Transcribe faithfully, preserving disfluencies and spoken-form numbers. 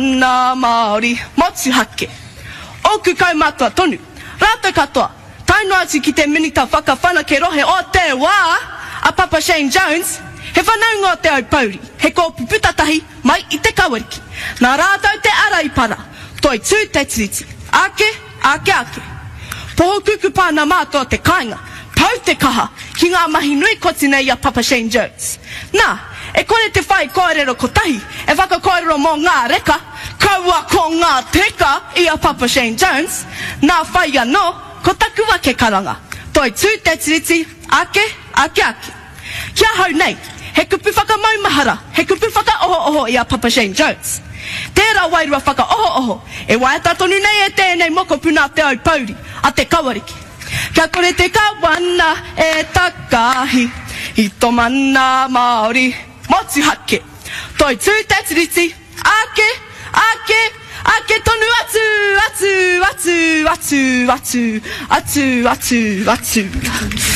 Mana Māori motuhake. Ōku kaumātua tonu, rātou katoa, tae noa atu ki te Minita Whakawhanake Rohe o te wā, a Papa Shane Jones, he whanaunga o Te Aupōuri, he kōpū putatahi mai i Te Kawariki. Nā rātou te ara i para, toitū te Tiriti, ake, ake, ake. Poho kukupa ana mātou o te kāinga, pau te kaha ki ngā mahi nui koti nei i a Papa Shane Jones. Nā, e kore te whai kōrero kotahi e whakakōrero mō ngā reka, kaua ko ngā teka i a Papa Shane Jones, nā whai anō, ko taku ake karanga, Toitū te Tiriti, ake, ake, ake. Ki ahau nei, he kupu whakamaumahara, he kupu whakaohooho i a Papa Shane Jones. Tērā wairua whakaohooho e waiata tonu nei e tēnei mokopuna a Te Aupōuri, a Te Kawariki. Kia kore te kawana e takahi i tō mana Māori motuhake. Toitū te Tiriti, ake, ake, ake tonu atu, atu, atu, atu, atu, atu, atu, atu.